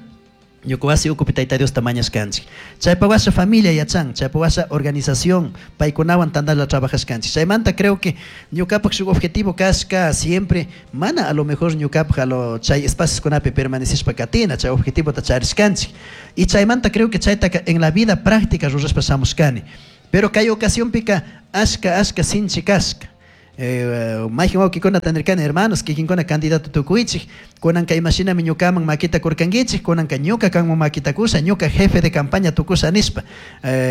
ñuka wasi ukupi Tayta Diosta mañashkanchik. Chaypa washa familia yachan, chaypa washa organización, paykunawan tantalla trabajashkanchik. Chaymanta creo que ñukapak shuk objetivo kashka siempre mana a lo mejor ñukapak a lo chay espacioskunapi permanecishpa katina, chay objetivota charishkanchik. Y chaymanta creo que chaytaka en la vida práctica rurashpa shamushkani. Pero kay ocasionpika ashka ashka sinchi kashka. Mayjin wawkikunata nirkani, hermanos, kikinkuna candidato tukuychik, kunanka imashinami ñukaman makita kurkankichik, kunanka ñuka kanman makita kusha, ñuka jefe de campaña tukusha nishpa.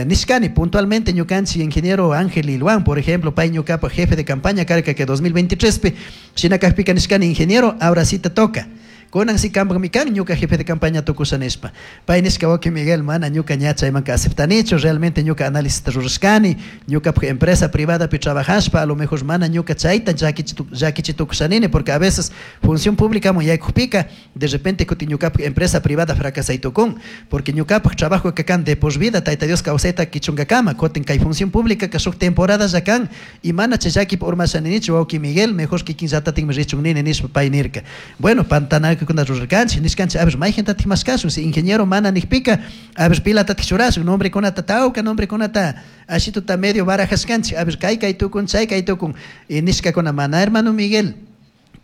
Nishkani, puntualmente ñukanchik ingeniero Ángel Ilhuán, por ejemplo, pay ñukapa jefe de campaña karka que 2023pi, shina kakpika nishkani, ingeniero, ahora sí te toca. Kunan si kanpakmi kan ñuka jefe de campaña tukusha nishpa. Pay nishka wawki Miguel, mana ñuka ña chaymanka aceptanichu, realmente ñuka análisis rurashkani, ñukapak empresa privadapi trabajashpa, a lo mejor mana ñuka chayta llakichi tukushanini, porque a veces función pública man yaykukpika, de repente kutin ñukapak empresa privada fracasay tukun, porque ñukapak trabajo ka kan de por vida, Tayta Dios kawsayta kichunkakama, kutin kay función pública ka shuk temporada ya kan, y mana chay llakipi urmashaninichu, wawki Miguel, mejor kikin llatatinmi richun nini nishpa pay nirka. Bueno, pantanal kuna rurarkanchik, nishkanchik, a ver, mayjintatik mashkashun, si ingeniero mana nikpika, a ver, pilatatik churashun, nombrekunata tawka, nombrekunata ashituta medio barajashkanchik, a ver, kay kay tukun, chay kay tukun, y nishkakuna mana, hermano Miguel,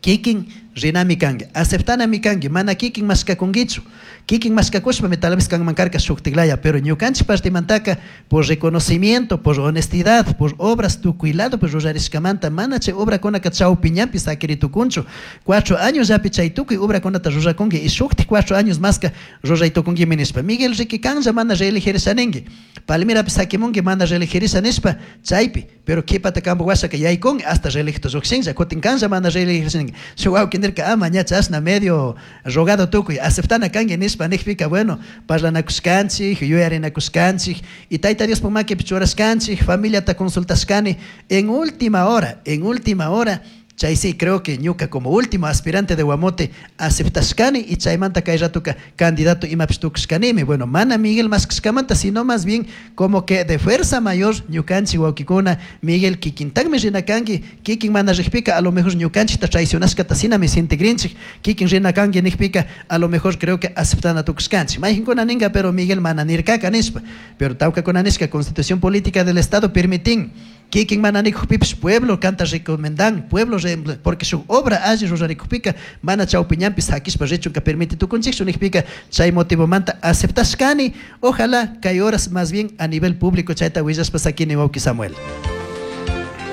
kikin rinami kanki, aceptanami kanki, mana kikin mashkakunkichu, kikin mashkakushpami tal vez kanman karka shuktiklaya, pero ñukanchik partimantaka por reconocimiento, por honestidad, por obras tukuy lado, pues rurarishkamanta, mana chay obrakunaka chawpiñanpi sakiritukunchu, 4 años yapi chay tukuy obrakunata rurakunki, y shuktik 4 años maska ruraytukunkimi nishpa. Miguel riki kanlla mana reeligirisha ninki, Palmirapi sakimunki mana reeligirisha nishpa chaypi, pero kipata kampu washaka yaykun hasta reeligito llukshinlla, kutin kanlla mana reeligirisha ninki. Shuk wawki nirka, ama ña chashna medio rogado tukuy, aceptana kanki nishpa nikpika, bueno, parlanakushkanchik, yuyarinakushkanchik, y Tayta Diospak makipi churashkanchik, familiata consultashkani, en última hora, en última hora, chay sí, creo que ñuka como último aspirante de Guamote aceptashkani y chaymanta kay ratuka candidato imapish tukushkanimi. Bueno, mana Miguel mashkashkamanta, sino más bien como que de fuerza mayor ñukanchik wawkikuna, Miguel kikintakmi rina kanki, kikin mana rikpika, a lo mejor ñukanchikta traicionashkata sinami sintigrinchik, kikin rina kanki nikpika, a lo mejor creo que aceptana tukushkanchik. Mayjinkuna ninga, pero Miguel mana nirkaka nishpa, pero tawkakuna nishka Constitución Política del Estado permitin, kikin mana nikukpipish pueblo kanta recomendan, pueblo porque su obra alli rurarikukpika, mana chawpiñanpi sakishpa richunka permite tukunchikchu nikpika, chay motivomanta aceptashkani, ojalá kay horas más bien a nivel público chayta willashpa sakini wawki Samuel.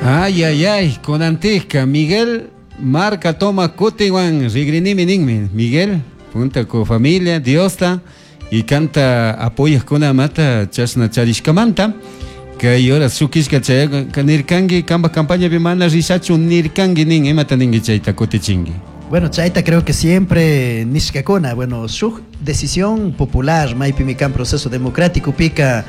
Ay, ay, ay, konantikka, Miguel marca toma kutiwan rigrinimi ninmi, Miguel, punta con familia, Diosta, y canta apoyas con amata chashna charishkamanta. Kay horas shukishka chay nirkangi, kamba campaña bimana rishachu nirkangi nin, imata ningi chayta kutichingi. Bueno, chayta creo que siempre nishkakuna, bueno, shuk decisión popular, maypi mi kan proceso democrático pika,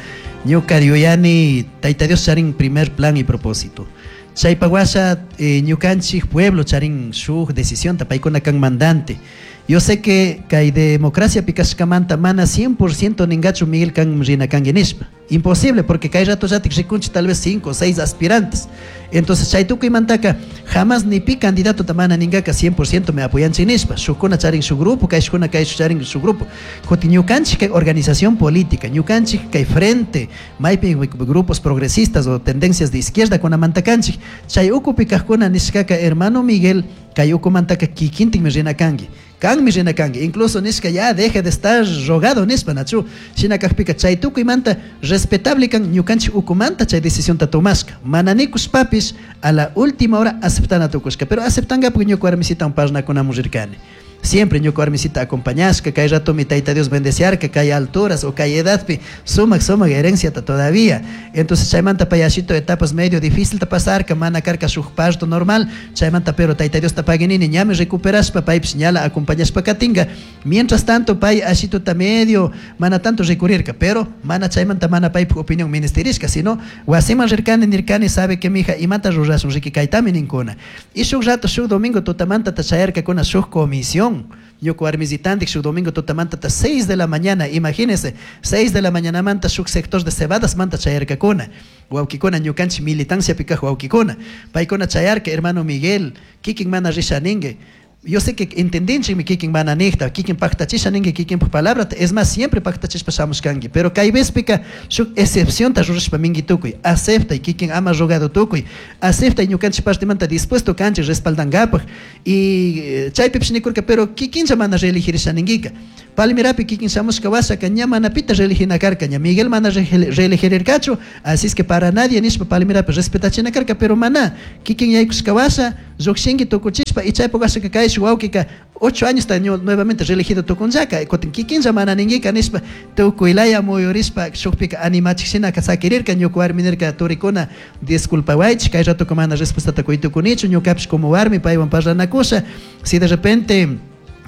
ñuka yuyani, Tayta Dios charin primer plan y propósito. Chaypa washa ñukanchik pueblo charin shuk decisión, paykuna kan mandante. Yo sé que kay democracia pikashkamanta mana 100% ningachu Miguel kan rina kangi nishpa. Imposible, porque kay rato yatik rikunchi tal vez 5 o 6 aspirantes. Entonces chay tukuymantaka jamás ni pi candidato ta mana ningaka 100% me apoyanchi nishpa. Shukuna charin su grupo, kay shukuna kay charin su grupo. Kutin ñukanchik kay organización política, ñukanchik kay frente, maypi grupos progresistas o tendencias de izquierda kunamantakanchik. Chay ukupi kajkuna nishkaka hermano Miguel, kay ukumantaka kikintikmi rina kanki. Kanmi rina kanki. Incluso nishka ya deje de estar rogado nishpa, nachu? Shina kakpika chay tukuymanta respetable kan ñukanchik ukumanta chay decisionta tomashka. Mana nikushpapish a la última hora aceptana tukushka. Pero aceptangapak ñuka warmisitawan parlanakunamun rirkani. Siempre ñuka warmisita acompañashka, kay ratomi Tayta Dios bendeciarka kay alturas o kay edadpi sumak sumak herenciata todavía. Entonces chaymanta pay ashito etapas medio difícil ta pasarka, mana karka shuk parto normal, chaymanta pero Tayta Diosta paguinini ñami recuperashpa paypish ñala acompañashpa katinga. Mientras tanto pay ashituta medio mana tanto rikurirka, pero mana chaymanta mana paypuk opinión ministerishka, sino wasiman rirkani nirkani sabe que mija imata rurashun riki kaytami ninkuna. Y shuk rato shuk domingo tutamanta ta chayarkakuna shuk comisión. Ñuka warmisitantik shuk domingo tutamanta ta 6 de la mañana, imagínense, 6 de la mañana manta shuk sector de cebadas manta chayarkakuna. Wawkikuna ñukanchik militanciapi kaj wawkikuna. Paykuna chayarka hermano Miguel, kikin mana risha ningue. Yo sé que entendinchikmi kikin mana nijta, kikin paktachisha ningue kikinpaj palabrata, es más, siempre paktachishpa shamushkanki, pero kay vezpika shuk excepcionta rurashpa mingi tukuy, acepta y kikin ama rogado tukuy, acepta y ñukanchik partimanta dispuesto kanchik respaldankapaj, y chaypipish nikurka, pero kikinlla mana reeligirisha ninguika. Palmirapi kikin shamushka washaka ña mana pita reeligina karka, ña Miguel mana reelegirkachu, así es que para nadie nishpa Palmirapi respetachina karka, pero mana kikin yaykushka washa llukshinki tukuchishpa y chaypuk washaka kay wawkika 8 años ta nuevamente reelegido tukunllaka, kutin kikinlla mana ninguika nishpa tukuylaya muyurishpa shukpika animachik shinaka sakirirka, ñuka warmi nirka turikuna disculpawaychik, kay ratoka mana respuestata kuy tukunichu, ñukapish como warmi paywan parlanakusha, si de repente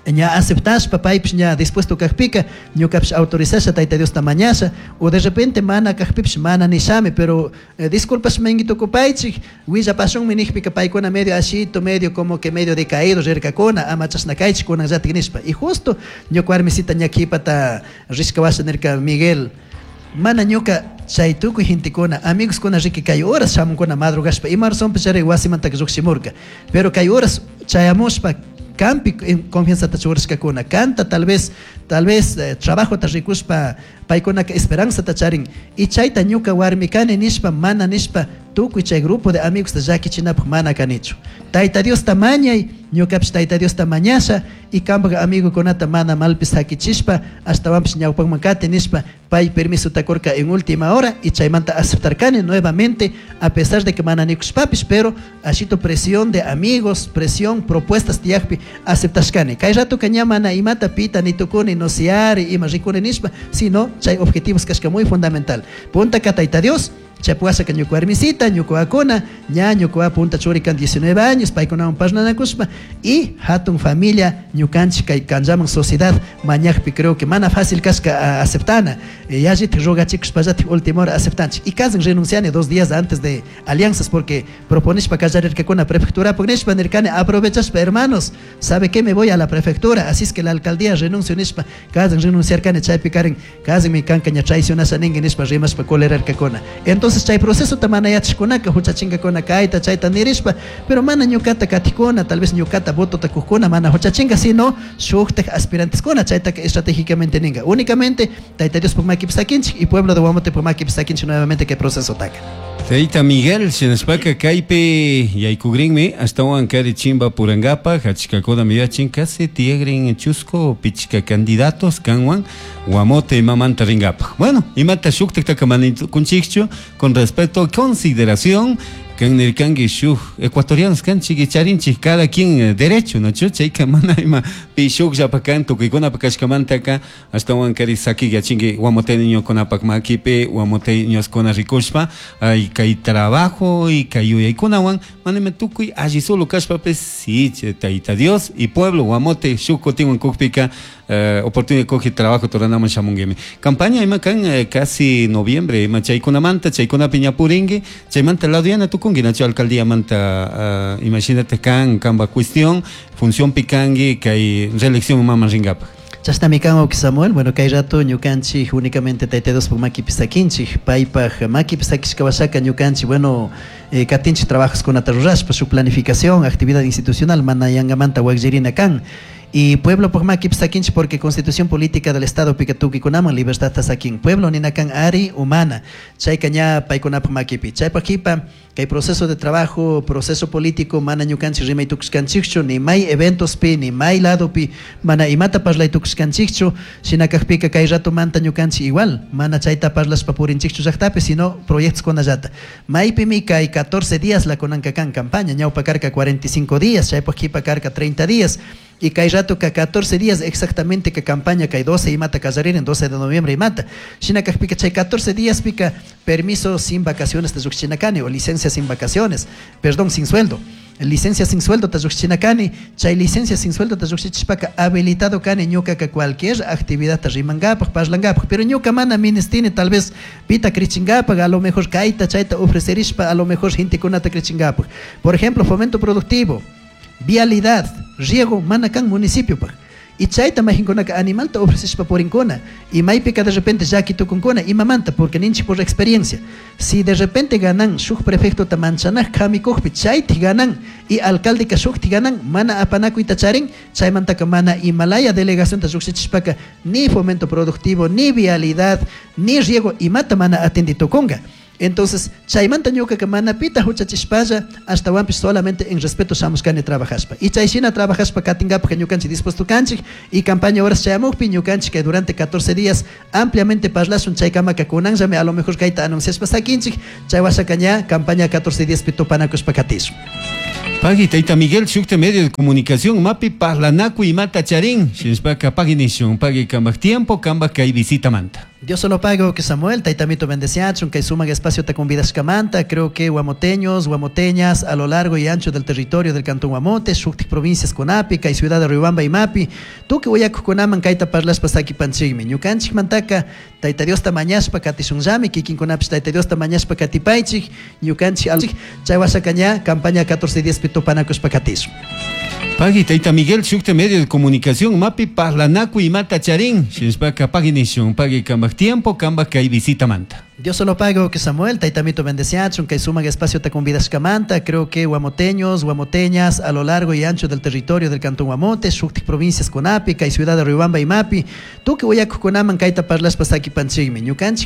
ña aceptashpa paypish ña dispuesto kajpika ñukapish autorizasha Tayta Diosta mañasha, o de repente mana kajpipish mana nishami, pero disculpas mingi tukupaychik willapashunmi nijpika paykuna medio ashito, medio como que medio decaído rirkakuna, ama chashna kaychik kunanllatik nishpa. Y justo ñuka warmisita ña kipata rishka washa nirka Miguel, mana ñuka chay tukuy gentekuna, amigos kuna riki kay horas shamunkuna madrugashpa, ima razonpish chari wasimantaka llukshimurka, pero kay horas chayamushpa kampi confianzata churashkakuna, kanta tal vez trabajota rikushpa paykunaka esperanzata charin, y chayta ñuka warmi kani nishpa mana nishpa tukuy chay grupo de amigos llakichinapaj mana kanichu. Tayta Diosta mañay, ñukapish Tayta Diosta mañasha, y kampak amigokunata mana malpis hakichishpa, ashtawanpish ñawpakman kati nishpa pay permisota kurka en última hora, y chaymanta aceptarkani nuevamente, a pesar de que mana nikushpapish, pero ashito presión de amigos, presión, propuestas tiyakpi aceptashkani. Kay ratoka ña mana imata pita ni tukuni, no siari, ima rikuni nishpa, sino chay objetivos kashka muy fundamental. Puntaka Tayta Dios, chapuasaka ñuka warmisita, ñuka akuna, ña ñuka punta churikan 19 años, paykunawan parlanakushpa, y hatun familia ñukanchik kay kanllaman sociedad mañakpi creo que mana fácil kashka aceptana, yallitik rogachikushpallatik última hora aceptanchik. Y kasan renunciani 2 días antes de alianzas porque proponishpa kallarirkakuna prefectura nishpa nirkani aprovechashpa hermanos, ¿sabe qué? Me voy a la prefectura, así es que la alcaldía renuncio nishpa, kasan renunciarkani chaypi karin, kasan mi kanka ña traicionasha ninki nishpa rimashpa colerarkakuna. Entonces chay proceso ta mana yachashkunaka huchachinkakuna kayta chayta nirishpa, pero mana ñukata katikuna, tal vez ñukata votota kujkuna mana huchachinka, sino shuktak aspiranteskuna chaytaka estratégicamente ninga. Únicamente Tayta Diospuk makipi sakinchik y pueblo de Guamotepuk makipi sakinchik nuevamente kay proceso taka. Tayta Miguel, shinashpaka kaypi yaykugrinmi ashtawan kari chimba purangapaj achkakuna miyachin casi tiyagrin chusco pichka candidatos kanwan Guamote imamanta ringapaj. Bueno, imata shuktaktaka manitukunchikchu, con respeto, consideración, kan nirkanki shuk ecuatorianos kanchik charinchik cada quien derecho, ¿no? Chayka mana ima pi shukllapa kan tukuykunapa kashkamantaka ashtawan kari saki yachinki guamoteñokunapak makipi guamoteñoskuna rikushpa ay kay trabajo y kay yuyaykunawan mana ima tukuy alli solo kashpapis sí, Tayta Dios y pueblo Guamote shuk kutinwan kukpika oportunidad coge trabajo toranaman shamunguimi. Campaña ima kan casi noviembre ima chaykunamanta chaykunapi ñapurinki chaymanta lado tukunki nacho alcaldía manta imagínate kan kamba cuestión función pikangi kay reelección mama ringapaj. Chashnami kan wawki Samuel, bueno kay rato ñukanchik únicamente Tayta Diospuk makipi sakinchik, paypaj makipi sakishka washaka ñukanchik, bueno, katinchik trabajoskunata rurashpa, su planificación, actividad institucional mana yangamanta wakllirina kan. Y pueblo makipi sakinchik porque Constitución Política del Estado pika tukuykunaman libertad sakin. Pueblo nina kan ari humana. Chayka ña paykunapaj makipi. Chaypaj kipa kay proceso de trabajo, proceso político mana ñukanchik rimay tukushkanchikchu, ni may eventospi, ni may ladopi, mana imata parlay tukushkanchikchu, shina kakpika kay ratomanta ñukanchik igual, mana chayta parlashpa purinchikchu llaktapi, sino proyectos kunallata. Maypimi kay 14 días la kunanka kan campaña, ñawpa karka 45 días, chaypaj kipa karka 30 días. Y kay rato ka 14 días exactamente ka campaña kay 12 imata kallaririn 12 de noviembre imata. Shina kakpika chay 14 días pika permiso sin vacaciones ta kani o licencia sin vacaciones, perdón, sin sueldo. Licencia sin sueldo ta kani, chay licencia sin sueldo ta lluqshichishpaka habilitado kani ñuka ka cualquier actividad ta rimankapaj, parlankapaj, pero ñuka mana ministini tal vez pita krichinkapaj, a lo mejor kayta chayta ofrecerishpa, a lo mejor gentekunata krichinkapaj. Por ejemplo, fomento productivo, vialidad, riego, mana kan municipio paj. Y chayta mayqinkunaka animalta ofrecishpa purinkuna. Y maypika de repente llaki tukunkuna imamanta porque ninchik por experiencia. Si de repente ganan shuk prefecto ta manchanaj kamikujpi chayti ganan y alcalde ka shukti ganan mana apanakuyta charin chaymantaka mana imalaya delegación ta lluqshichishpaka ni fomento productivo, ni vialidad, ni riego imata mana atendi tukunga. Entonces, chaymanta ñuka mana pita huchachishpalla ashtawanpish solamente en respeto shamushkani trabajashpa. Y chayshina trabajashpa katinkapak ñukanchik dispuesto kanchik y campaña horas chayamukpi ñukanchik que durante 14 días ampliamente parlashun chaykamaka kunanllami a lo mejor kayta anunciashpa sakinchik chay washaka ña campaña 14 días pi tupanakushpa katishun. Pagui, Taita Miguel, shukta medio de comunicación, mapi parlanaku imata charin, shinashpaka pagui nishun, pagui kambaj tiempo, kambaj kay visita manta. Dios solo pago que Samuel, Taitamito bendeciachun, kay sumak espacio ta convidashkamanta, creo que huamoteños, huamoteñas, a lo largo y ancho del territorio del Cantón Guamote, shuktik provincias kunapi, kay ciudad de Riobamba y Mapi, tukuy uyakukunaman kayta parlashpa sakipanchikmi, ñukanchik mantaka, Taita Diosta mañashpa katishunllami, kikinkunapish Taita Diosta mañashpa katipaychik, ñukanchik chay washaka ña campaña 14 días pi tupanakushpa katishun. Pagui, Taita Miguel, shukta medio de comunicación, mapi parlanaku imata charin, shinashpaka pagui nishun, pagui kambaj tiempo, kambaj kay visita manta. Dios solo pago que Samuel, Taitamito bendeciachun, kay sumak espacio ta convidashkamanta, creo que huamoteños, huamoteñas, a lo largo y ancho del territorio del Cantón Guamote, shuktik provincias kunapi, kay ciudad de Riobamba y Mapi, tukuy uyakukunaman kayta parlashpa sakipanchikmi, ñukanchik.